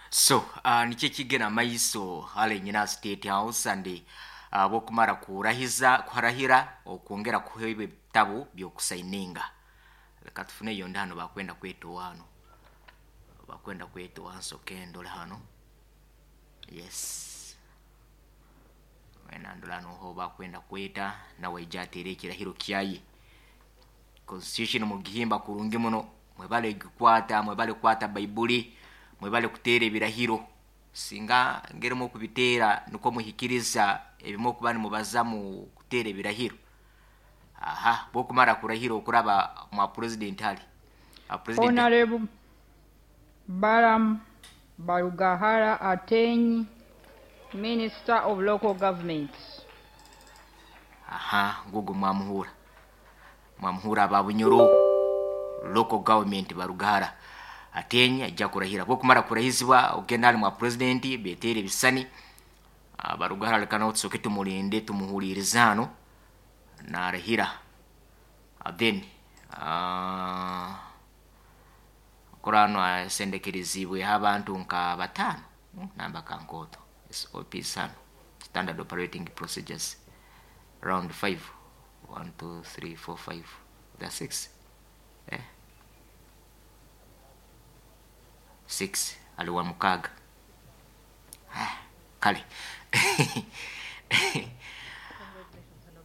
So nikyo ekigenda maiso hale nyina State House and bwokumara kurahiza kuharahira okwongera kuheebwa ebitabu by'okusaininga. Leka tufune yondi hano bakwenda kwetowa hano, bakwenda kwetowa nsoke ndole hano. Yes, wena ndola noho bakwenda kweta nawe aija ateere ekirahiro kyaye. Constitution mugihimba kurungi muno, mwebale gikwata, mwebale kukwata Baibuli, mwebale kuteera ebirahiro. Singa ngerimu okubiteera nikwo muhikiriza ebimu okuba nimubaza mu kuteera ebirahiro. Aha, bwokumara kurahira okuraba mwa president hali. President Honorable Balaam Barugahara Ateenyi, Minister of Local Government. Aha, ngugu mwamuhura. Mwamuhura aba Bunyoro Local Government Barugahara Ateenyi ajja kurahira. Bwokumara kurahizibwa ogenda hali mwa president beteere ebisani. Barugahara leka nawe tusoke tumulinde tumuhulirize hano narahira. Then kurano asendekerezibwe abantu nka batano namba kankoto SOP sano standard operating procedures round 5 1 2 3 4 5 that's 6 6 aliwa mukaga kale.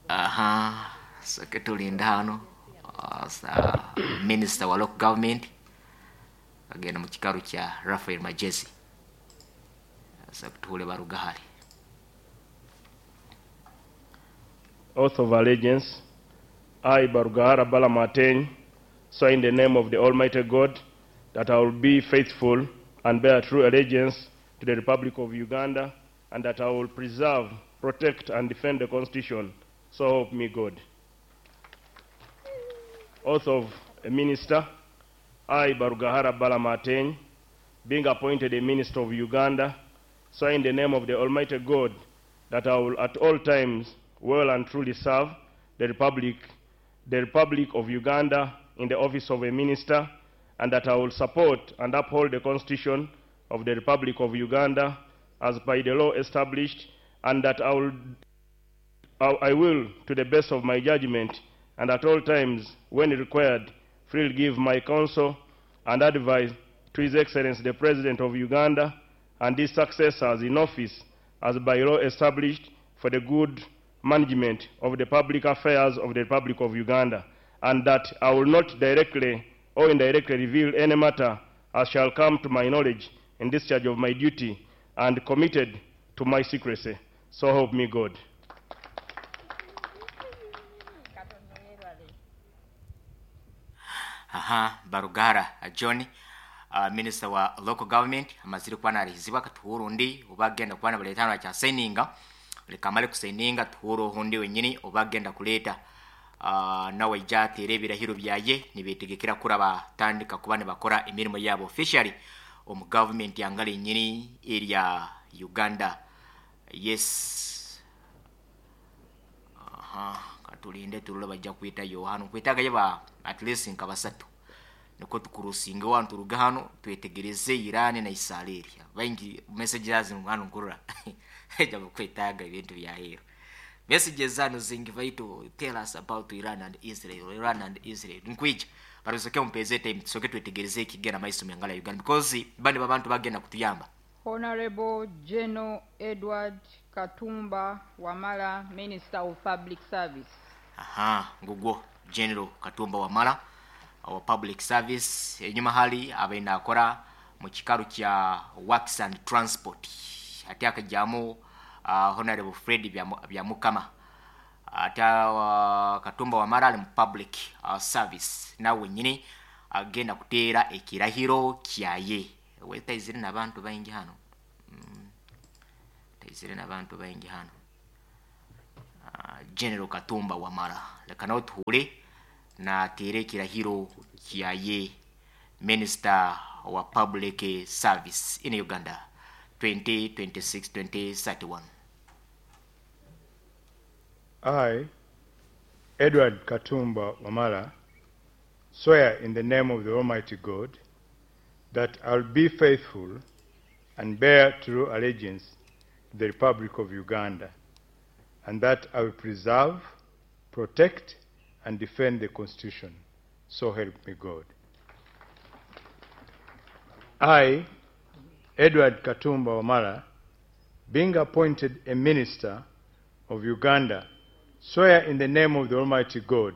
Aha, soke tulinda hano sa minister wa local government agenda mu kikaru kya Raphael Magyezi. Sa kutuhule Barugahara. Oath of Allegiance. I, Barugahara Balaam Ateenyi, swear in the name of the Almighty God that I will be faithful and bear true allegiance to the Republic of Uganda, and that I will preserve, protect, and defend the Constitution. So help me God. Oath of a Minister. I, Barugahara Balaam Ateenyi, being appointed a Minister of Uganda, swear in the name of the Almighty God that I will at all times well and truly serve the Republic of Uganda in the office of a minister, and that I will support and uphold the Constitution of the Republic of Uganda as by the law established, and that I will, to the best of my judgment, and at all times when required, freely give my counsel and advice to His Excellency the President of Uganda and his successors in office as by law established for the good management of the public affairs of the Republic of Uganda, and that I will not directly or indirectly reveal any matter as shall come to my knowledge in discharge of my duty and committed to my secrecy. So help me God. Aha, Barugahara John, Minister wa Local Government, amazire kuba narihizibwa katuhura undi obagenda kuba nabaleta hano akya signinga. Leka amale kusigninga tuhure ohundi wenyini obagenda kuleta. Nawe aija ateere ebirahiro byaye nibetegekera kuraba tandika kuba nibakora emirimo yabo officially omu government yangala enyini erya Uganda. Yes. Aha, katulinde turule bajja kwita Yohana kwetaga ba at least nka basatu niko tukurusinga wantu turuga hano twetegereze Iran na Israel. Baingi messages hano nkurura ejja kwetaga ibintu bya hero. Messages zano zingi vaitu tell us about Iran and Israel, Iran and Israel. Nkwija barusoke mpeze time tusoke twetegereze ikigena maiso myangala Uganda because bandi babantu bagenda kutuyamba. Honorable General Edward Katumba Wamala, Minister of Public Service. Aha, ngugwo General Katumba Wamala wa Public Service enyuma hali abaina akora mu kikaru kya Works and Transport. Ate akajamu Honorable Fred Byamukama. Ate Katumba Wamala ali mu Public Service nawe nyini agenda kuteera ekirahiro kyaye. Wetaizire n'abantu baingi hano. Taizire n'abantu baingi hano. General Katumba Wamala leka nawe tuhure na atere ekirahiro kyaye, Minister wa Public Service in Uganda 2026-2031. I, Edward Katumba Wamala, swear in the name of the Almighty God that I'll be faithful and bear true allegiance to the Republic of Uganda, and that I will preserve, protect, and defend the Constitution. So help me God. I, Edward Katumba Wamala, being appointed a minister of Uganda, swear in the name of the Almighty God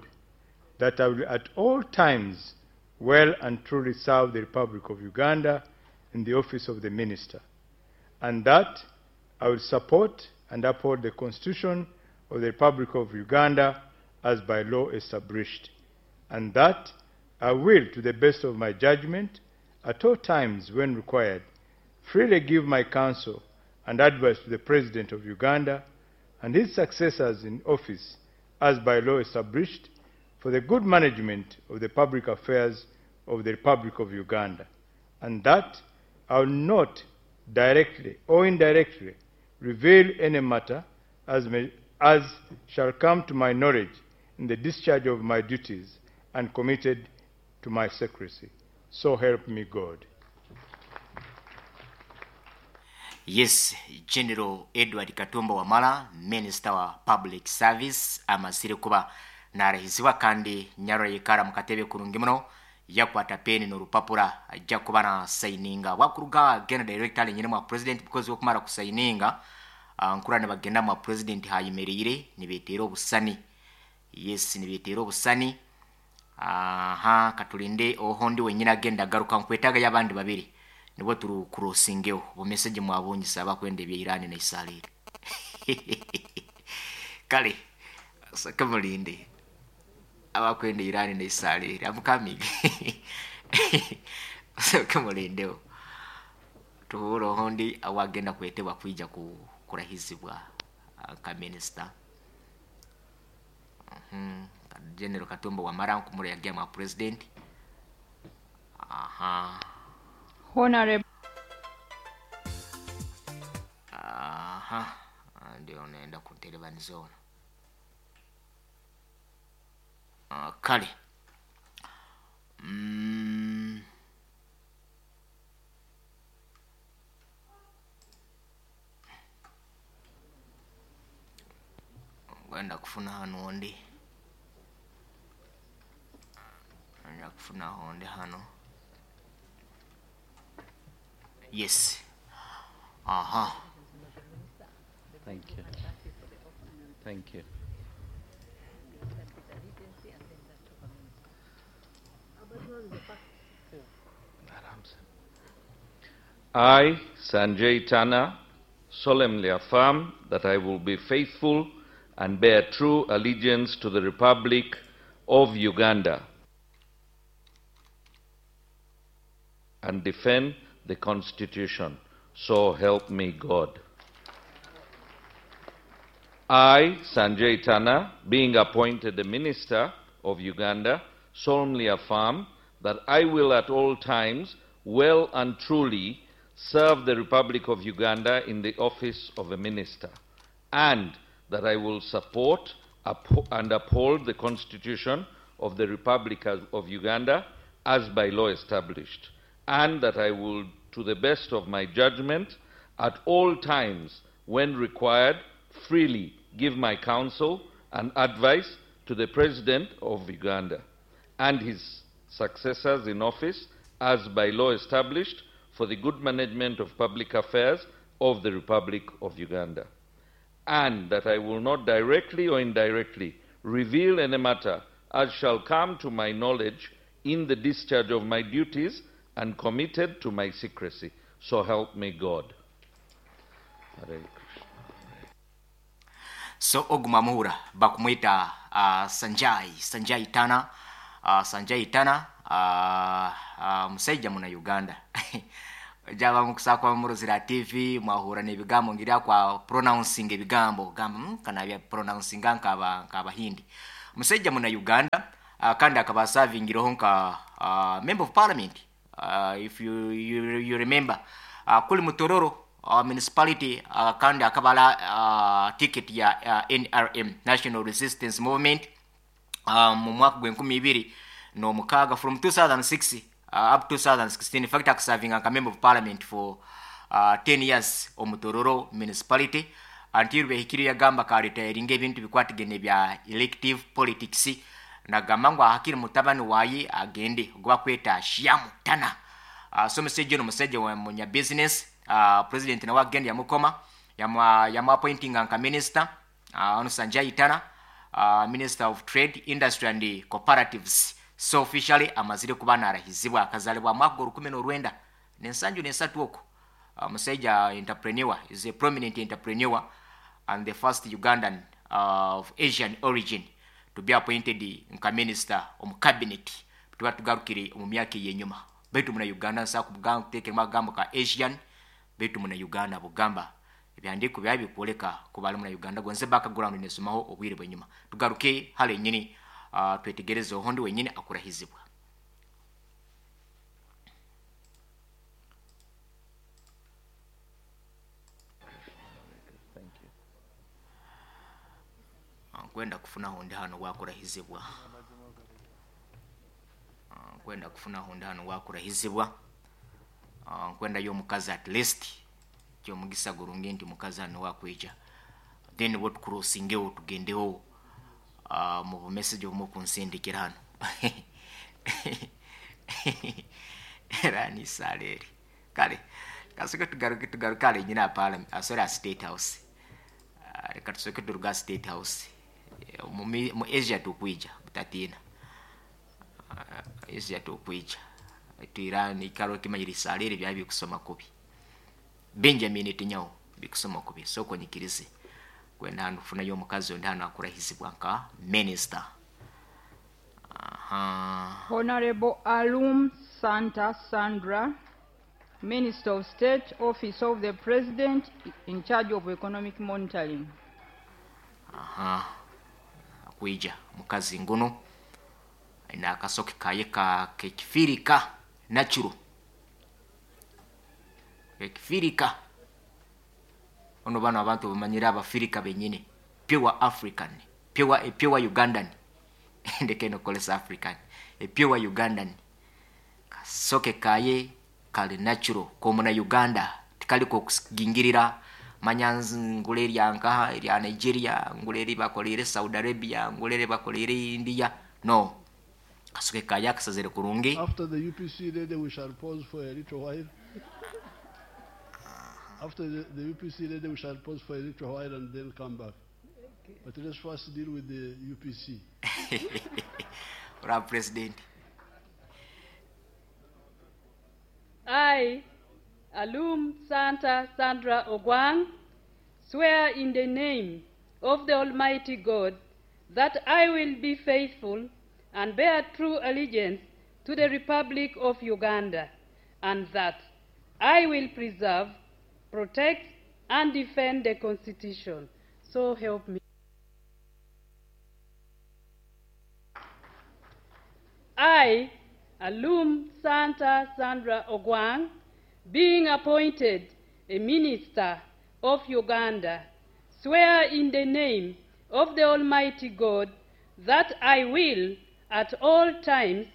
that I will at all times well and truly serve the Republic of Uganda in the office of the minister, and that I will support and uphold the Constitution of the Republic of Uganda as by law established, and that I will, to the best of my judgment, at all times when required, freely give my counsel and advice to the President of Uganda and his successors in office as by law established for the good management of the public affairs of the Republic of Uganda, and that I will not directly or indirectly reveal any matter as, may, as shall come to my knowledge in the discharge of my duties and committed to my secrecy. So help me God. Yes, General Edward Katumba Wamala, Minister wa Public Service, amazire kuba narahizibwa kandi nyarora yikara mukatebe kurungi muno, yakwata peni n'orupapura ajja kuba na sayininga wakuruga genda directly nyine mwa president, because okumara kusayininga nkura nibagenda mwa president hayemereire nibeteera obusani. Yes, nibeteera obusani. Aha, katulinde ohondi wenyine agenda agaruka, nkwetaaga y'abandi babiri nibwo turu kurosingeho bumeseje mwabungisa abakwenda ebya Iran na Israel. Kale saka mulinde abakwenda Iran na Israel, I'm coming. Saka mulindeho tuhure ohondi awagenda kwetebwa kwija ku kurahizibwa nka minister. General Katumba Wamala nkumura yagiye mwa president. Aha. Honorable Aha, ndio naenda kunterebanizona. Kale Ngenda kufuna hano ndi ngenda kufuna hondi hano. Yes, aha. Thank you. Thank you. I, Sanjay Tana, solemnly affirm that I will be faithful and bear true allegiance to the Republic of Uganda and defend the Constitution. So help me God. I, Sanjay Tana, being appointed the Minister of Uganda, solemnly affirm that I will at all times well and truly serve the Republic of Uganda in the office of a minister, and that I will support and uphold the Constitution of the Republic of Uganda as by law established, and that I will, to the best of my judgment, at all times when required, freely give my counsel and advice to the President of Uganda and his successors in office as by law established for the good management of public affairs of the Republic of Uganda, and that I will not directly or indirectly reveal any matter as shall come to my knowledge in the discharge of my duties and committed to my secrecy. So help me God. Hare Krishna. So oguma muhura bakumwita Sanjay Tana, Sanjay Tana, musaija muna Uganda. Jaba mukusakwa muruzira TV mwahura n'ebigambo ngira kwa pronouncing ebigambo gamba kana bya pronouncing nkaba nkabahindi. Musaija muna Uganda, kandi akaba serving nka member of parliament, if you remember, kuli Mutororo municipality, kandi akabala ticket ya NRM, National Resistance Movement, mu mwaka gw'enkumi ibiri n'omukaaga, from 2006. up to 2016. In fact, akaservinga nka member of parliament for 10 years omu Tororo municipality until behikire yagamba karetiringa ebintu bikwatigene bya elective politics, nagamba ngu ahakiri mutabani waye agende gwakweta Shiamu Tana. So musajja ono musajja wa munya business. President nawe agenda yamukoma yamu appointinga nka minister. Ono Sanjay Tana, minister of trade, industry and cooperatives. So officially amazire kuba narahizibwa, akazalibwa mwaka gwa rukumi n'orwenda n'ensanju n'esatu okwo. Musajja entrepreneur, is a prominent entrepreneur and the first Ugandan of Asian origin to be appointed nka minister omu cabinet. Tuba tugarukire omu myaka eyenyuma, baitu muna Uganda nsa kubugamba kuteekeramu akagambo ka Asian, baitu muna Uganda bugamba ebyandiiko byaba bikwoleka kuba ali muna Uganda gonze background nesomaho obwire bwenyuma. Tugaruke hale nyini, twetegereze ohondi wenyini akurahizibwa. Thank you. Nkwenda kufuna hondi hano wakurahizibwa. Nkwenda kufuna hondi hano wakurahizibwa. Nkwenda yo mukazi at least kyomugisa gurungi nti mukazi hano wakwija, then what crossingeho tugendeho mu message omu kunsindikira hano era ni saleri kale kasoke tugaruke tugaruke ale nyina parliament, sorry, State House. Reka tusoke turuga State House. Mu Asia tukwija butatina. Asia tukwija Iran ikaro kimanyiri saleri bya bikusoma kubi. Benjamin Netanyahu bikusoma kubi, soko nyikirize kwenda hano kufuna yo mukazi ondi hano akurahizibwa nka minister. Aha. Honorable Alum Santa Sandra, Minister of State, Office of the President, in charge of economic monitoring. Aha. Akuija mukazi nguno ina akasoke kaye ka kekifirika natural. Kekifirika. Ono bano abantu bamanyira abafirika benyine, pure African, pure Ugandan. Ndeke no kolesa African, a pure Ugandan. Kasoke kaye kali natural komuna Uganda, tikaliko kugingirira manyanzi ngule erya nkaha erya Nigeria, ngule eri bakolere Saudi Arabia, ngule eri bakolere India. No. Kasoke kaye akasazire kurungi. After the UPC lady, we shall pause for a little while. After the UPC lady, we shall pause for a little while and then come back. But let's first deal with the UPC. Honorable President. I, Alum Santa Sandra Ogwang, swear in the name of the Almighty God that I will be faithful and bear true allegiance to the Republic of Uganda, and that I will preserve, protect, and defend the Constitution. So help me. I, Alum Santa Sandra Ogwang, being appointed a minister of Uganda, swear in the name of the Almighty God that I will at all times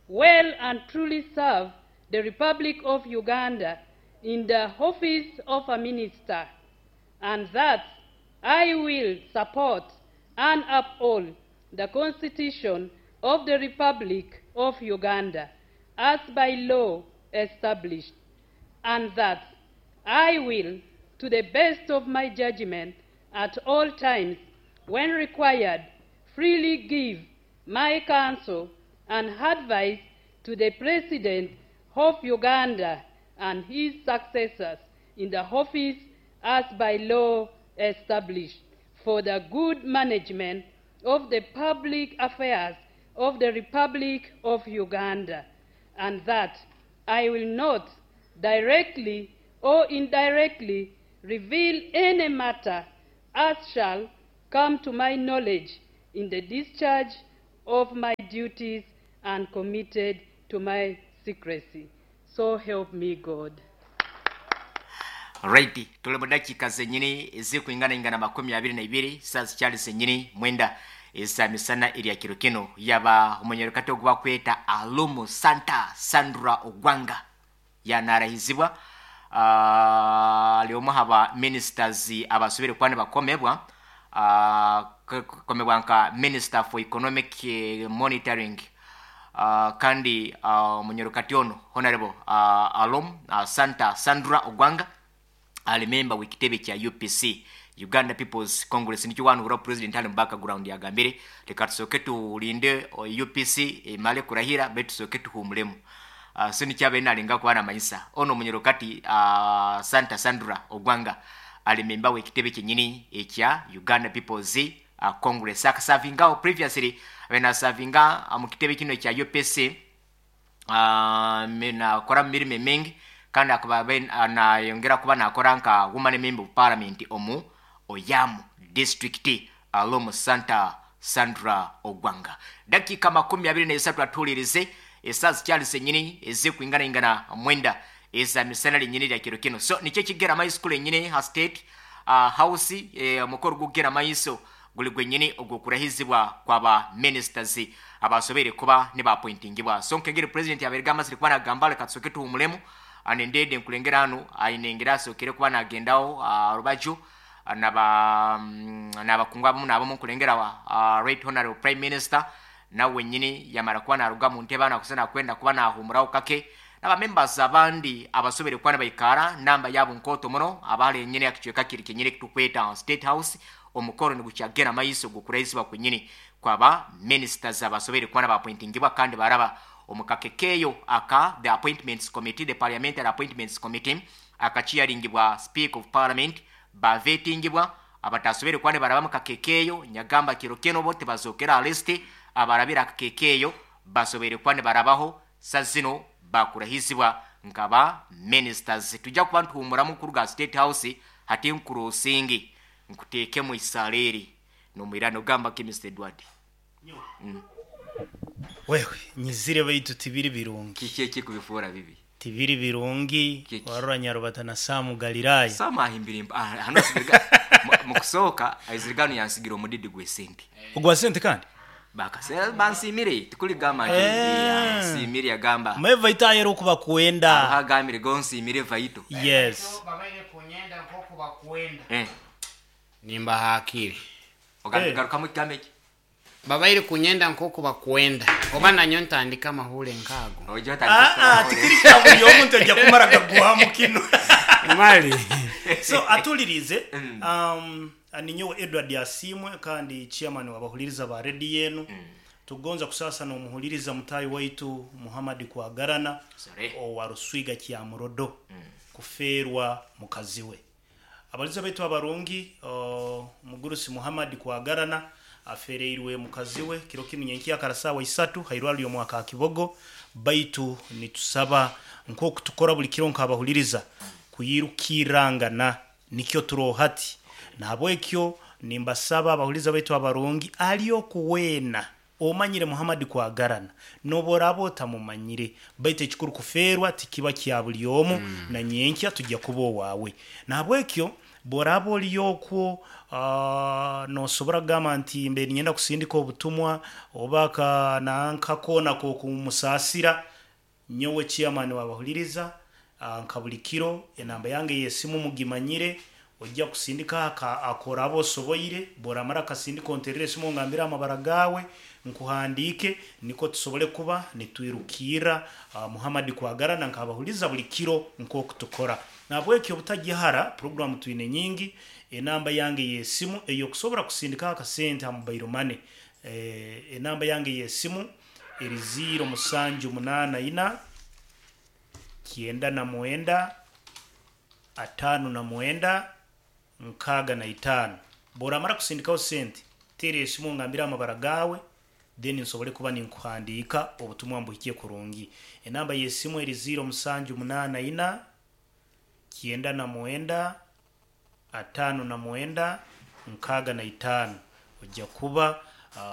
well and truly serve the Republic of Uganda in the office of a minister, and that I will support and uphold the Constitution of the Republic of Uganda as by law established, and that I will, to the best of my judgment, at all times, when required, freely give my counsel and advice to the President of Uganda and his successors in the office as by law established, for the good management of the public affairs of the Republic of Uganda, and that I will not directly or indirectly reveal any matter as shall come to my knowledge in the discharge of my duties and committed to my secrecy. So help me God. Right, tuli mu dakiika zennyini ezikuingana ingana makumi abiri na ibiri, saa zikyali zennyini mwenda. eza misana erya kiro kino yaba omunyarukati ogu bakweta Alumu Santa Sandra Ogwanga yanarahizibwa. Ali omu haba ministers abasobire kuba nibakomebwa, komebwa nka Minister for Economic Monitoring, kandi omunyarukati ono Honorable Alum Santa Sandra Ogwanga ali member w'ekitebe kya UPC, Uganda People's Congress. Nikyo wanuhura president ali mu background yagambire, leka tusooke tulinde UPC emale kurahira, baitu tusooke tuhumulemu. So nikyo abaire nalenga kuba namanyisa. Ono omunyarukati Santa Sandra Ogwanga ali member w'ekitebe kyenyini ekya Uganda People's Congress. Akasavingaho previously, abaire nasavinga mu kitebe kino ekya UPC, nakora mu mirimo emingi, kandi akaba abaire nayongera kuba nakora nka woman member of parliament omu Oyam district. Alomu Santa Sandra Ogwanga. Dakiika 23 atuhulirize, esaaha zikyali zenyini ezikwinganaingana 9 eza misana linyini lya kiro kino. So nikyo ekigera maiso kule nyini ha State House, omukoro gukugera maiso guli gwenyini ogw'okurahizibwa kwaba ministers abasobeire kuba nibapointingibwa. So nkengeri president yabaire amazire kuba nagamba, leka tusooke tuhumulemu. Nendede nkulengera hanu aine engeri asookere kuba nagendaho rubaju nabakungu abamu nabamu, nkulengera Right Honorable Prime Minister nawe wenyini yamara kuba naruga mu ntebe nakusa nakwenda kuba nahumuraho kake, n'aba members abandi abasobere kuba nibaikara namba yabo nkooto muno abali enyini akicweka kiri kenyini kitukweta State House. Omukoro nigukyagera maiso gukurahisibwa kwenyini kwaba ministers abasobere kuba nabapointingibwa kandi baraba omukakekeyo aka the appointments committee, the parliamentary appointments committee akachiaringibwa Speaker of Parliament, bavetingibwa. Abatasobere kuba nibaraba mukakekeyo, nyagamba kiro kino bo tebazokera list, abarabira akakekeyo basobere kuba nibarabaho sazino bakurahizibwa nkaba ministers. Tujja kuba ntuhumuramu kuruga State House hati nkurusingi nkuteekemu isaleri nomwirano gamba ki Mr Edward. Wewe nyizire, baitu tibiri birungi. Kiki ekikubifuura bibi? Tibiri birungi. Kiki? Warora Nyarubata na Samu Galilaya. Samu ahimbire hano asigirga mukusooka aizirigano yansigira omudidi gw'esente. Ogwa sente kandi? Bakase bansimire, tikuligamba nti nsimire, yagamba. Meva itayera okuba kuwenda. Agambire gonsimire vaito. Yes. Babaire kunyenda nk'oku bakwenda. Nimbahakire. Garukamu ekigambo eki. Babaire kunyenda nk'oku bakwenda, oba nanyo ntandika amahure nkaago. Oija otandika Ah, ah, tikiri kya buli omuntu ajja kumara gagwamu kino. Mali. So atulirize, ninyowe Edward Asimwe kandi chairman wabahuliriza ba rediyo enu. Tugonza kusasa n'omuhuliriza mutayi waitu Muhammad Kwagarana Sorry. owa Ruswiga Kyamurodo kufeerwa mukazi we. Abaliza baitu abarungi, omugurusi Muhammad Kwagarana afereirwe mukazi we kiro kinu nyenkiya kara 3 hairwaro omwaka wa Kibogo. Baitu nitusaba nk'oku tukora buli kiro nk'abahuliriza kuyirukirangana, nikyo turohati. Nahabwekyo nimbasaba abahuliriza baitu abarungi, ali okuweena omanyire Muhammad Kwagarana noboraba otamumanyire, baitu ekikuru kuferwa tikiba kya buli omu, na nyenkya tujja kuba owaawe. Nahabwekyo boraba oli okwo, nosobora kugamba nti mbe ninyenda kusindika obutumwa oba nankakoona k'okumusaasira. Nyowe chairman wabahuliriza, nka buli kiro enamba yange y'esimu mugimanyire, ojja kusindika akoraba osoboire. Boramara akasindika onterere esimu ngambire amabara gawe nkuhandiike, niko tusobole kuba nitwirukirra Muhammad Kwagarana nk'abahuliza buli kiro nk'oku tukora. Nahabwekyo obutagihara, programu twine nyingi. Enamba yange y'esimu ey'okusobora kusindika akasente ha mobile money, enamba yange y'esimu eri 0784 99 59 65. Boramara kusindikaho sente, teera esimu ngambire amabara gawe, then nsobole kuba ninkuhandiika obutumwa mbuhikie kurungi. Enamba y'esimu eri 0784 99 59 65. Ojja kuba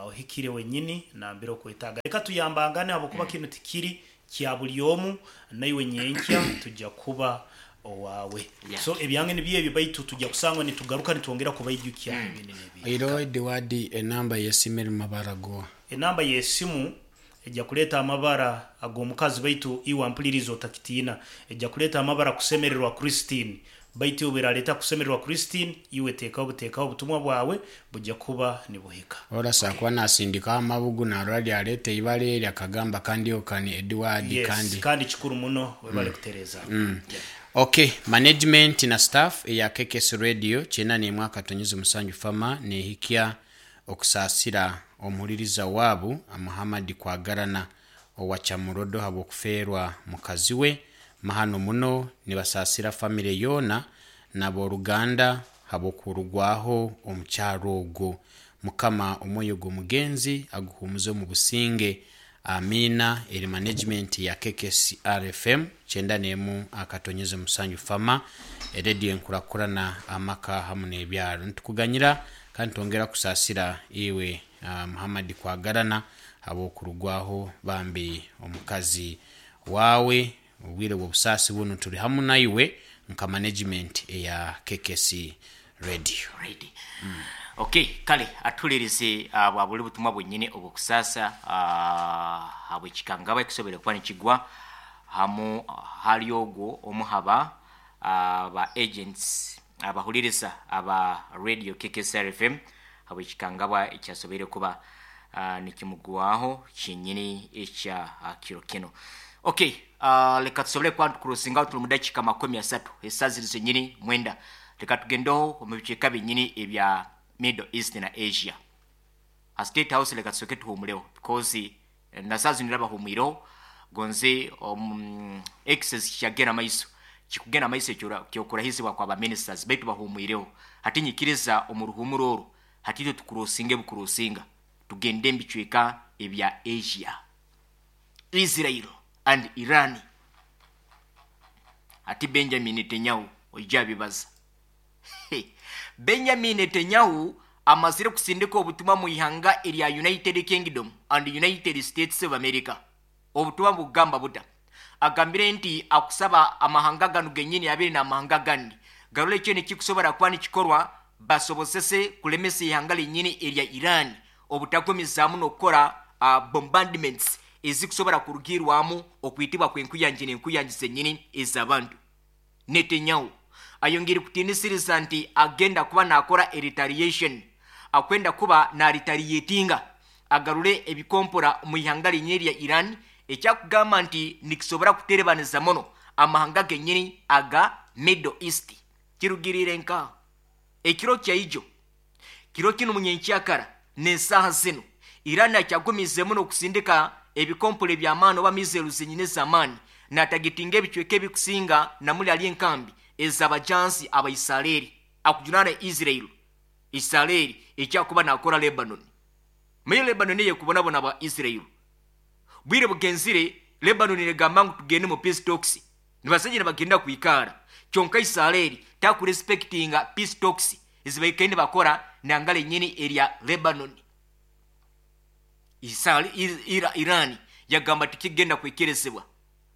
ohikire wenyini nambire okwetaaga. Reka tuyambangane, habwokuba kinu tikiri kya buli omu, naiwe nyenkya tujja kuba Owaawe. Yeah. So ebyange nibyo ebyo baitu tujja kusangwa nitugaruka nitwongera kubaijukya ebindi n'ebindi. Oihireho Ediwadi enamba y'esimu eri mu mabara goha? Enamba y'esimu ejja kuleeta amabara ag'omukazi baitu iwe ampuliriize otakitiina. Ejja kuleeta amabara Kusemererwa Christine. Baitu obu eraleeta Kusemererwa Christine, iwe teekaho buteekaho obutumwa bwawe bujja kuba nibuhika. Ori asobola kuba nasindikaho amabugu narora ryareta eibara eri akagamba kandi okani Edward Yes, kandi. kandi kikuru muno webale kutereeza. Yeah. Ok, management na staff eya KKS Radio 91.7 Fama nehikya okusaasira omuhuririza waabu Muhammad Kwagarana owa Kyamurodo habw'okufeerwa mukazi we. Mahano muno nibasaasira famire yoona n'aboruganda habw'okurugwaho omukyara ogwo. Mukama omwoyo gw'omugenzi aguhumuze omu businge. Amiina. Eri management ya KKCR FM 91.7 Fama, erediyo enkurakurana amaka hamu n'ebyaro. Nitukuganyira kandi nitwongera kusaasira iwe Muhammad Kwagarana habw'okurugwaho bambi omukazi waawe. Obwire bw'obusaasi bunu turi hamu naiwe nka management eya KKC Radio. Right. Okay, kale atuhulirize uh, bwa buli butumwa bwenyini obw'okusaasa uh, habw'ekikangabwa ekisobere kuba nikigwa hamu hali ogwo omu haba uh, ba agents abahuliriza aba radio KKCR FM habw'ekikangabwa ekyasoboire kuba uh, nikimugwaho kyenyini ekya uh, kiro kinu. Okay, uh, leka tusobole kuba nitukurusingaho tuli mu dakiika 30 esaaha ziri zenyini 9. Leka tugendeho omu bicweka byenyini ebya Middle East na Asia. Ha State House leka tusooke tuhumuleho because na saaha zinu bahumwireho gonze um, excess kikyagenda maiso kikugenda maiso ekyokurahizibwa kwa ba ministers baitu bahumwireho. Hati nyikiriza omu ruhumuro oru hati itwe tukurusinge bukurusinga tugende omu bicweka ebya Asia. Israel and Iran. Hati Benjamin Netanyahu oija abibaza. Benjamin Netanyahu amazire kusindika obutumwa mu ihanga erya United Kingdom and United States of America. Obutumwa bukugamba buta? Agambire nti akusaba amahanga ganu genyini abiri n'amahanga agandi garole ekyo nikikusobora kuba nikikorwa basobozese kulemesa ihanga lyenyini erya Iran obutagumizaamu n'okukora uh, bombardments ezikusobora kurugirwamu okwitibwa kw'enkuyangi n'enkuyangi zenyini ez'abantu. Netanyahu ayongeire kutiinisiriza nti agenda kuba nakora retaliation, akwenda kuba naretaliatinga agarure ebikompora omu ihanga lyenyini erya Iran, ekyakugamba nti nikisobora kuterebaniza muno amahanga genyini aga Middle East. Kirugiriire nka ekiro kyaijo kiro kinu munyenkyakara n'esaaha zinu Iran akyagumizemu n'okusindika ebikompora eby'amaani oba missiles zenyini ez'amaani natagetinga ebicweka ebikusinga namuli ali enkambi ez'abajansi Abaisareri akujunaana Israel. Isareri ekyakuba nakora Lebanon. Maye Lebanon eyekubonabona aba Israel. Bwire bugenzire Lebanon negamba ngu tugende mu peace talks. Nibasaija nibagenda kwikara. Kyonka Isareri takurespectinga peace talks ezibaikaire nibakora nangala enyini erya Lebanon. Iran yagamba tikigenda kwekerezebwa.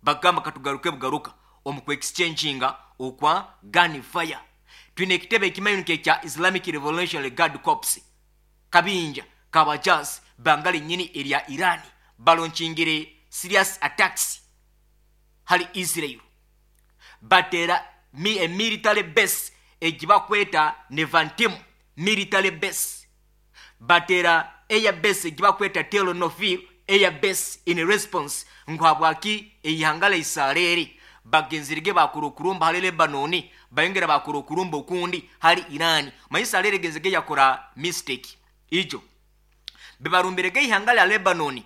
Bagamba katugaruke bugaruka omu kwexchanginga okwa gunfire. Twine ekitebe ekimanyi ekya Islamic Revolutionary Guard Corps kabinja kabajazi bangala enyini erya Iran balonchingire serious attacks hali Israel. Batera mi a military base egibakweta Nevantim military base. Batera air base egibakweta Tel Nofir air base in response ngu habwaki eihanga lya Isareri bagenzirige bakora okurumba hali Lebanon, bayongera bakora okurumba okundi hali Iran. Manyi Isareri egenzige yakora mistake ijo bibarumbirege ihanga lya Lebanon.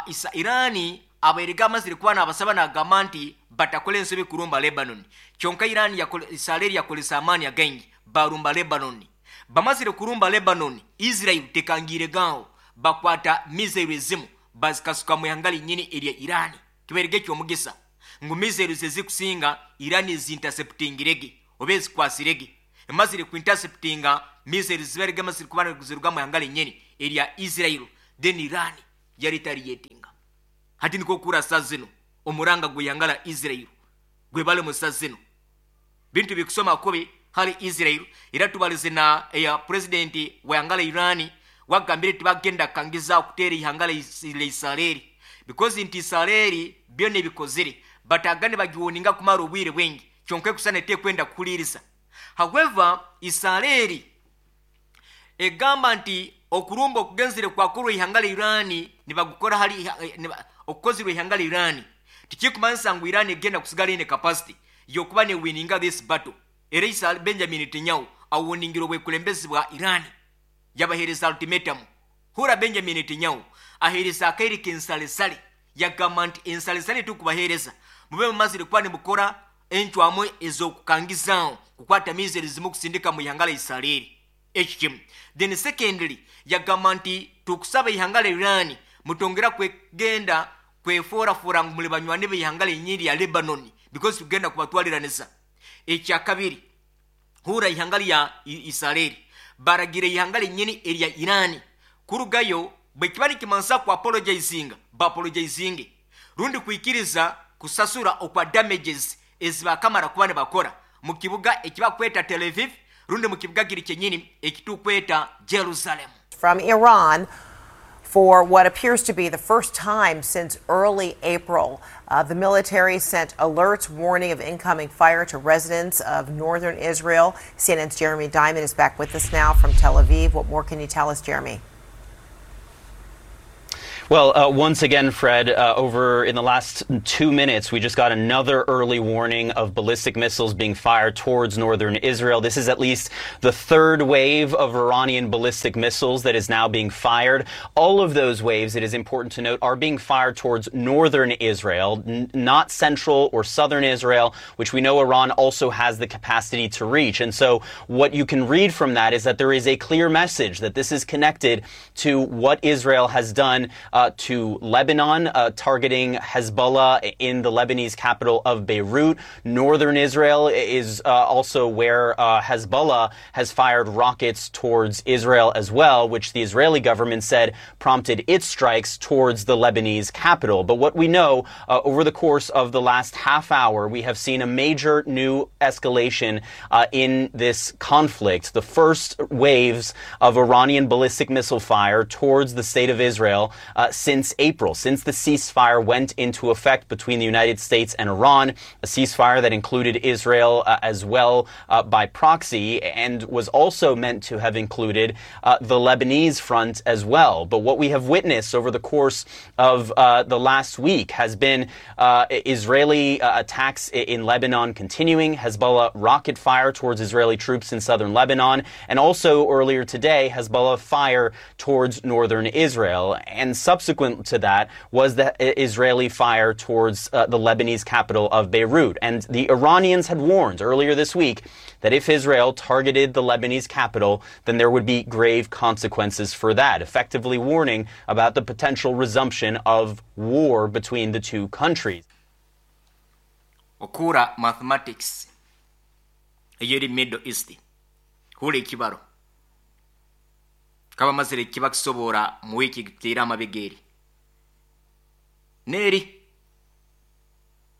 Isa Iran abairege amazire kuba nabasaba nagamba nti batakora ensobi kurumba Lebanon. Kyonka Iran Isareri yakolesa amaani againgi barumba Lebanon. Bamazire kurumba Lebanon, Israel tekangire gaho bakwata missiles ezimu bazikasuka mu ihanga linyini erya Iran. Kibairege kyomugisa ngu missiles ezikusinga Iran zinterceptingirege oba ezikwasirege. Emazire kuinterceptinga missiles zibarege amazire kuba ziruga mu ihanga linyini erya Israel, then Iran yaretaliatinga. Hati niko kurasa zino omuranga gw'ihanga la Israel gwebale mu saa zino. Bintu bikusoma kubi hali Israel era tubalize na eya president w'ihanga lya Iran wagambire tibagenda kangiza kuteera ihanga lya Israeli because nti Israeli byona ebikozire bataga nibagiwoninga kumara obwire bwingi kyonka ekusana etekwenda kuhuliriza. However, Israeli egamba nti okurumba okugenzire kwakorwa ihanga lya Iran nibagukora hali okukozirwe ihanga lya Iran tikikumanyisa ngu Iran egenda kusigala ine capacity yokuba ne wininga this battle. Era Israel Benjamin Netanyahu awoningira obwekulembezi bwa Iran yabahereza ultimatum. Hura Benjamin Netanyahu ahereza akaire k'ensalesale yagamba nti ensalesale tukubahereza mube mumazire kuba nimukora encwamu ez'okukangizaaho kukwata missiles zimu kusindika mu ihanga lya Israeli. Eki kimu. Then secondly yagamba nti tukusaba ihanga lya Iran mutongera kwegenda kweforafoora ngu muli banywani b'ihanga lyenyini lya Lebanon because tugenda kubatwaliranisa. Ekyakabiri hura ihanga lya Israeli baragira ihanga lyenyini erya Iran kurugayo bwekiba nikimansa ku apologizinga baapologizinge rundi kwikiriza kusasura okwa damages ezibakamara kuba nibakora mu kibuga ekibakweta Tel Aviv rundi mu kibuga kiri kyenyini ekitukweta Jerusalem. From Iran for what appears to be the first time since early April. The military sent alerts warning of incoming fire to residents of northern Israel. CNN's Jeremy Diamond is back with us now from Tel Aviv. What more can you tell us, Jeremy? Well, once again, Fred, over in the last 2 minutes, we just got another early warning of ballistic missiles being fired towards northern Israel. This is at least the third wave of Iranian ballistic missiles that is now being fired. All of those waves, it is important to note, are being fired towards northern Israel, not central or southern Israel, which we know Iran also has the capacity to reach. And so what you can read from that is that there is a clear message that this is connected to what Israel has done to Lebanon, targeting Hezbollah in the Lebanese capital of Beirut. Northern Israel is also where Hezbollah has fired rockets towards Israel as well, which the Israeli government said prompted its strikes towards the Lebanese capital. But what we know over the course of the last half hour, we have seen a major new escalation in this conflict. The first waves of Iranian ballistic missile fire towards the state of Israel since April, since the ceasefire went into effect between the United States and Iran, a ceasefire that included Israel as well by proxy and was also meant to have included the Lebanese front as well. But what we have witnessed over the course of the last week has been Israeli attacks in Lebanon continuing, Hezbollah rocket fire towards Israeli troops in southern Lebanon, and also earlier today, Hezbollah fire towards northern Israel. And subsequent to that was the Israeli fire towards the Lebanese capital of Beirut. And the Iranians had warned earlier this week that if Israel targeted the Lebanese capital, then there would be grave consequences for that, effectively warning about the potential resumption of war between the two countries. Okura mathematics eyeri Middle East hule ekibaro kaba mazire kiba kisobora mu wiki gitera amabegeri neri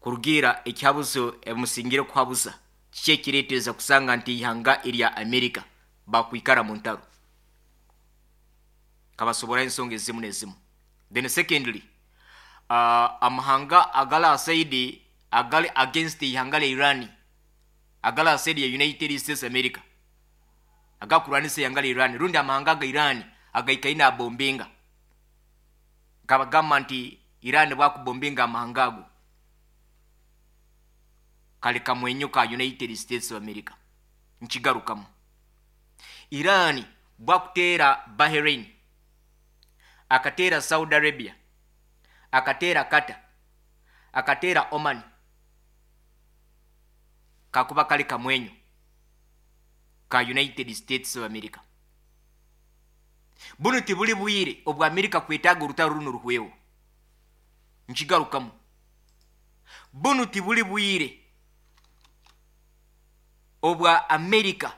kurugira ekyabuzo emusingire kuhabuza kikireteza kusanga nti ihanga erya America bakwikara mu ntaro kabasobora ensonga ezimu nezimu. Then secondly, amahanga agala asaidi agali against ihanga lya Iran, agala asaidi ya United States America agakuranisa ihanga lya Iran rundi amahanga ga Iran agaikaina abombinga kabagamba nti Iran bwakubombinga amahanga ago kale kamwenyo ka United States of America. Nkigarukamu, Iran bwakuteera Bahrain, akateera Saudi Arabia, akateera Qatar, akateera Oman, kakuba kale kamwenyo ka United States of America. Buno tibuli bwire obwa America kwetaaga orutaro runo ruhweho. Nkigarukamu, buno tibuli bwire obwa America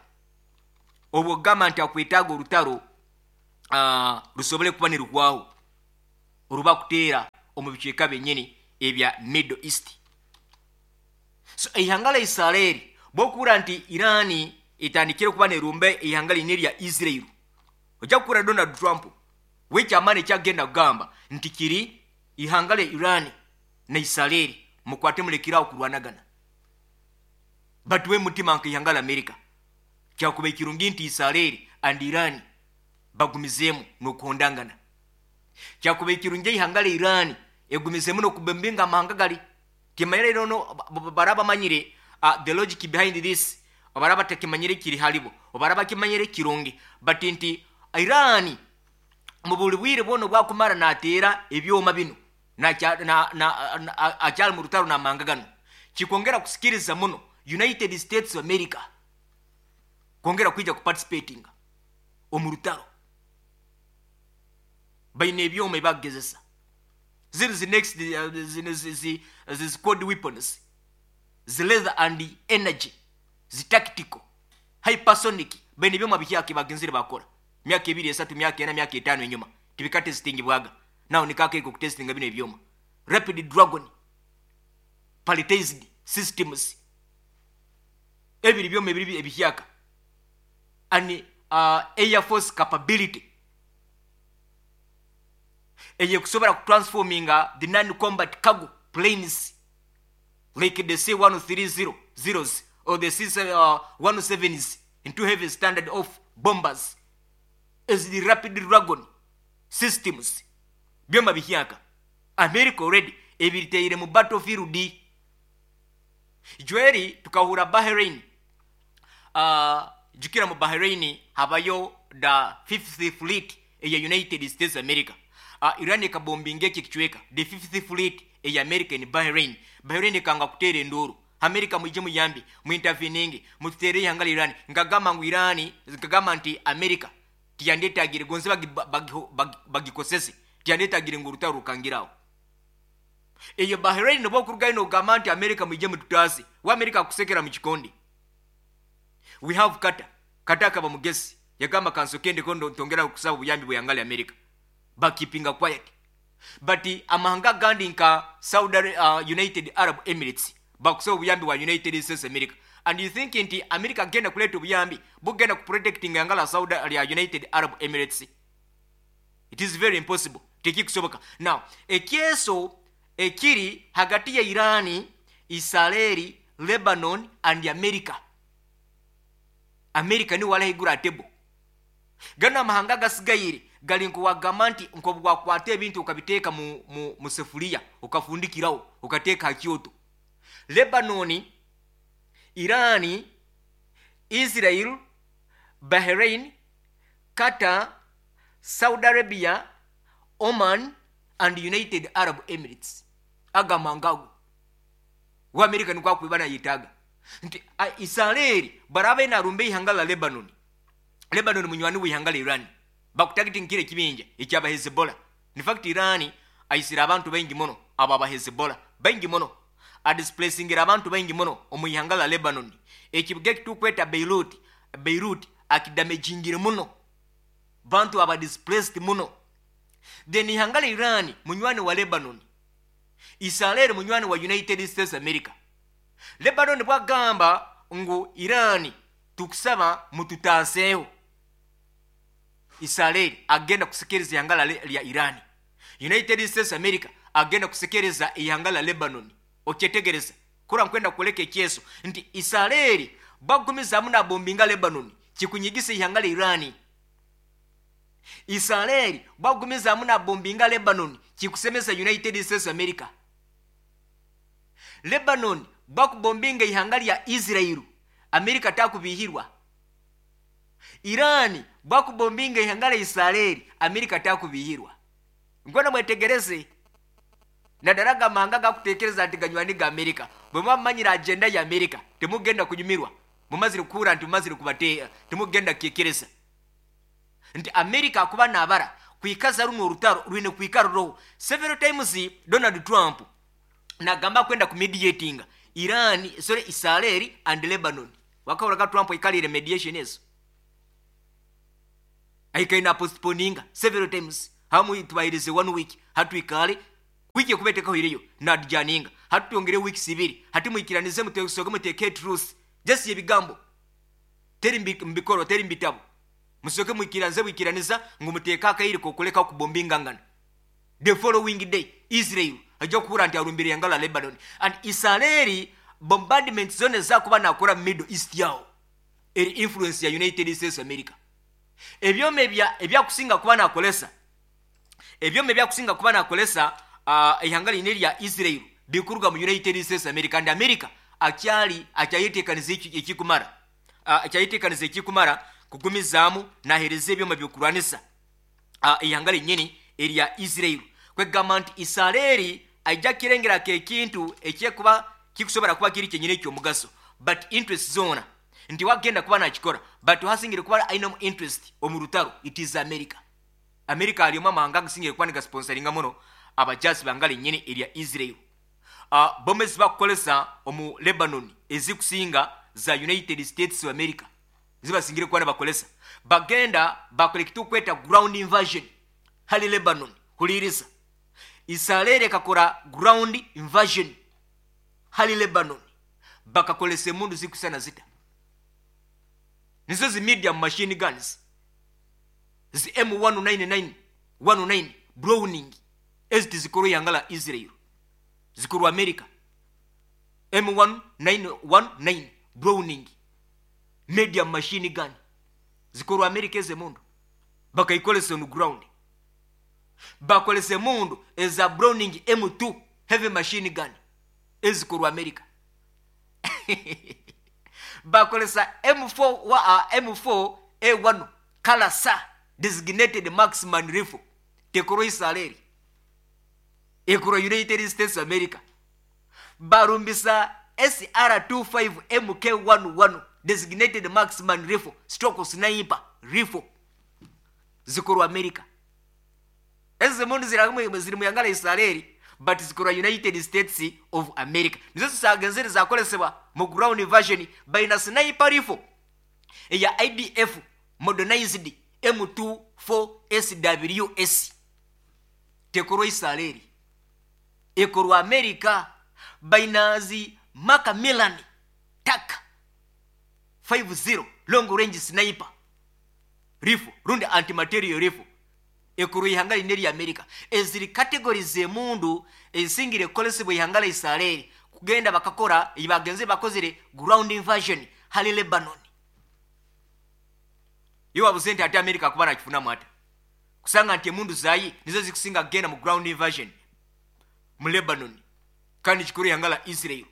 obwo gamba nti akwetaaga orutaro rusobole kuba niruhwaho oruba kuteera omu bicweka byenyini ebya Middle East. So ihanga lya Israeli Bw'okuhurira nti Iran etandikire kuba nerumba eihanga rini erya Israel, ojja kuhurira Donald Trump we eky'amaani eki akugenda kugamba nti kiri eihanga rya Iran na Israel mukwate murekere aho kurwanagana. Batuhe mutima nk'eihanga rya America. Kyakubaire kirungi nti Israel and Iran bagumizeemu n'okuhondangana. Kyakubaire kirungi eihanga rya Iran egumizemu n'okubombinga amahanga gari. Timanyire no baraba bamanyire the logic behind this, baraba batakimanyire kiri haribo, baraba bakimanyire kirungi but nti Iran omu buri bwire bwona obu akumara nateera ebyoma binu akyari mu rutaro n'amahanga ganu, kikwongera kusikiriza muno United States of America kwongera kwija kuparticipatinga omu rutaro. Baine ebyoma ebi bakugezesa. Ziri zi next zino zi zi code weapons, zi leather and energy, zi tactical, hypersonic, baine ebyoma bihyaka ebagenzire bakora myaka ebiri, esatu, myaka ena, myaka etaano enyuma tibikatesitingibwaga. Now niko akaire k'okutesitinga binu ebyoma. Rapid Dragon palletized systems, ebiri byoma ebiri ebihyaka and air force capability eyekusobora kutransforminga the non-combat cargo planes like the C-130 zeros or the C-17s into heavy standard off bombers as the Rapid Dragon systems. Byoma bihyaka America already ebiriteire mu battlefield. Jweri tukahura Bahrain, jukira mu Bahrain habayo the fifth fleet eya United States America. Iran ekabombinga eki ekicweka, the fifth fleet eya America in Bahrain. Bahrain ekanga kuteera enduuru, America mwije muyambe, muinterveninge, mututeere eihanga rya Iran. Nkagamba ngu Iran, nkagamba nti America tiyandetagire gonze bagikosese, tiyandetagire ngu orutaro rukangire aho. Eyo Bahrain nobu okurugayo nogamba nti America mwije mututaase, we America akusekera mu kikondi. We have Qatar. Qatar akaba mugezi, yagamba kansoke ndeko ntongera kusaba obuyambi bw'eihanga rya America. Bakeepinga quiet. But amahanga agandi nka Saudi, United Arab Emirates bakusaba obuyambi bwa United States America. And you think nti America agenda kuleeta obuyambi bugenda kuprotectinga ihanga lya Saudi lya United Arab Emirates? It is very impossible. Tekikusoboka. Now, ekyeso ekiri hagati ya Iran, Israel, Lebanon and America. America niwe arahaiguru aha table. Ganu amahanga agasigaire gari nk'owagamba nti nk'obu wakwata ebintu okabiteeka mu sefuriya okafundikiraho okateeka aha kyoto. Lebanon, Iran, Israel, Bahrain, Qatar, Saudi Arabia, Oman and United Arab Emirates. Aga amahanga ago. We America nikwo akuba nayetaaga. Nti Israel barabe narumba eihanga la Lebanon. Lebanon munywani w'eihanga la Iran. Bakutagitinga kire ekibinja ekyaba Hezbollah. In fact Iran aisire abantu baingi muno abo aba Hezbollah. Baingi muno. Adisplacingira abantu baingi muno omu ihanga la Lebanon. Ekibuga ekitukweta Beirut, Beirut akidamagingire muno. Bantu aba displaced muno. Then ihanga la Iran munywani wa Lebanon. Israel munywani wa United States America. Lebanon bwagamba ngu Iran tukusaba mututaaseho. Israel agenda kusekereza ihanga lya Iran. United States America agenda kusekereza ihanga la Lebanon. Okyetegereza. Kura nkwenda kuleka ekyeso nti Israel bagumizamu na bombinga Lebanon kikunyigisa ihanga la Iran. Israel bagumizamu na bombinga Lebanon kikusemesa United States America. Lebanon bakubombinga ihanga lya Israel, America takubihirwa. Iran bakubombinga ihanga lya Israel, America takubihirwa. Ngwena mwetegereze. Nadaraga amahanga gakutekereza nti ganywani ga America. Bwe mwamanyira agenda ya America, temugenda kunyumirwa. Mumazire kuhura nti mumazire kubateera, temugenda kukekereza. Nti America akuba nabara kwikaza runo orutaro rwine kwikara roho. Several times Donald Trump nagamba kwenda kumediatinga Iran, sorry, Israel and Lebanon. Wakahuraga Trump aikalire mediation ezo. Aikaina postponinga several times. Hamu tubairize 1 week, hatuikale wiki kubeteka hireyo nadjaninga. Hatutongere weeks ibiri, hatimwikiranize mutesoge muteke truce. Just ebigambo. Teri mu bikorwa, teri mu bitabo. Musooke mwikiranize bwikiraniza ngu muteeke akaire k'okuleka okubombingangana. The following day, Israel aija kuhurra nti arumbire ihanga lya Lebanon. And Isareri bombardment zona ezakuba nakora mu Middle East aho, eri influence ya United States America. Ebyoma ebya ebyakusinga kuba nakoresa, ebyoma ebyakusinga kuba nakoresa ihanga line erya Israel bikuruga mu United States America and America akyali akyayetekaniza ekikumara, akyayetekaniza ekikumara kugumizaamu nahereza ebyoma by'okurwanisa eihanga ryenyini erya Israel. Kwegamba nti Isareri aija kirengera nk'ekintu ekyekuba kikusobora kuba kiri kyenyini eky'omugaso but interest zoona nti wagenda kuba nakikora but hasingire kuba ainemu interest omu rutaro it is America. America ari omu amahanga agasingire kuba nigasponsoringa muno abajaasi b'ihanga ryenyini erya Israel. Bomu ezibakukoresa omu Lebanon ezikusinga za United States of America zibasingire kuba nibakoresa. Bagenda bakora ekitukweta ground invasion hali Lebanon. Huliiriza. Isareri ekakora ground invasion hali Lebanon. Bakakoresa emundu zirikusana zita? Nizo zi medium machine guns zi M199 19 Browning ezi tizikorwa ihanga la Israel, zikorwa America. M1919 Browning medium machine gun zikorwa America. Ezi emundu bakaikoresa on ground. Bakoresa emundu eza Browning M2 heavy machine gun ezikorwa America. Bakoresa M4 wa M4 A1 Kalasa designated marksman rifle, tekorwa Israeli, ekorwa United States America. Barumbisa SR25 MK11 designated marksman rifle stroke sniper rifle, zikorwa America. Ezi mundu ziri mu ihanga la Israeli but zikorwa United States of America. Nizo zisagenzere zakoresebwa mu ground invasion. Baina sniper rifle eya IDF modernized M24 SWS, tekorwa Israeli, ekorwa America. Bainazi Macmillan TAC 50 long range sniper rifle rundi antimaterial rifle, ekorwa ihanga line lya America. Eziri category z'emundu ezisingire kukolesebwa ihanga la Israeli kugenda bakakora bagenze bakozere ground invasion hali Lebanon. Iwe wabuze nti ate America kuba nakifunamu ata kusanga nti emundu zayi nizo zikusinga kugenda mu ground invasion mu Lebanon, kandi kikuru ihanga la Israel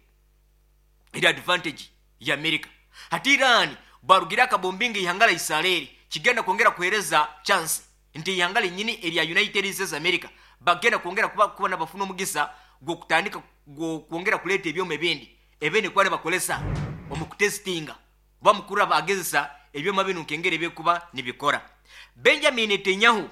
eri advantage ya America. Hati Iran barugira akabombinga ihanga la Israeli, kigenda kwongera kuhereza chance nti ihanga linyini erya United States America bagenda kwongera kuba nabafuna omugisa gw'okutandika gw'okwongera kuleeta ebyoma ebindi ebindi kuba nibakolesa omu kutestinga oba mukuru bagezesa ebyoma binu nkengeri ebikuba nibikora. Benjamin Netanyahu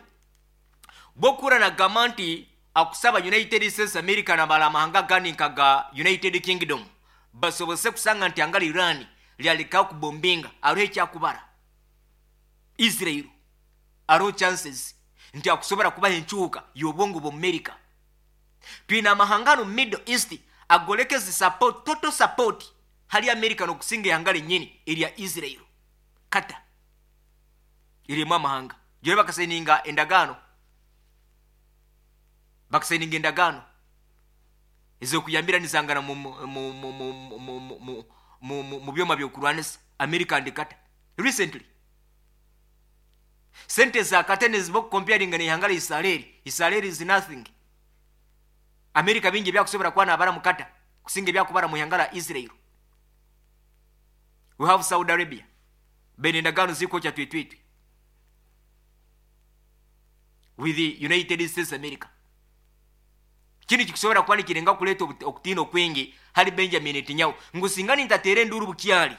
bwokura nagamba nti akusaba United States America nabala amahanga gandi nka ga United Kingdom basobose kusanga nti anga Iran lyalekaho kubombinga, aroho ekyakubara Israel, aroho chances nti akusobora kubaha enkyuka y'obwongo bw'Amerika. Twine amahanga mu Middle East agolekeze support, total support hali America n'okusinga ihanga lyenyini erya Israel. Qatar erimu amahanga gyoli bakasayininga endagaano, bakasayininga endagaano ez'okuyambiranizangana mu byoma by'okurwanisa America and Qatar recently. Sente za Qatar neziba okucomparinga n'ihanga la Israel, Israel is nothing. America bingi ebyakusobora kuba nabara mu Qatar kusinga ebyakubara mu ihanga la Israel. We have Saudi Arabia, bene endagaano zikwokya twitwitwi with the United States America. Kinu kikusobora kuba nikirenga kuleeta okutiina okwingi hali Benjamin Netanyahu ngu singa nintateera enduru bukyali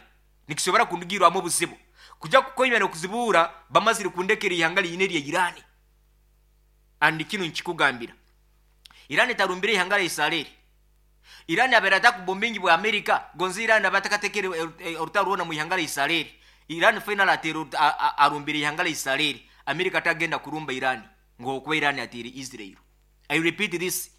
nikisobora kundugirwamu obuzibu kuja kukoima n'okuzibuura bamazire kundekera ihanga liine erya Iran. And kinu nkikugambira, Iran etarumbire ihanga lya Israeli. Iran abeera atakubombingi bwa America gonzi Iran abatakatekere orutaro rwona mu ihanga lya Israeli. Iran final ateera arumbire ihanga lya Israeli, America tagenda kurumba Iran ng'okuba Iran ateire Israel. I repeat this.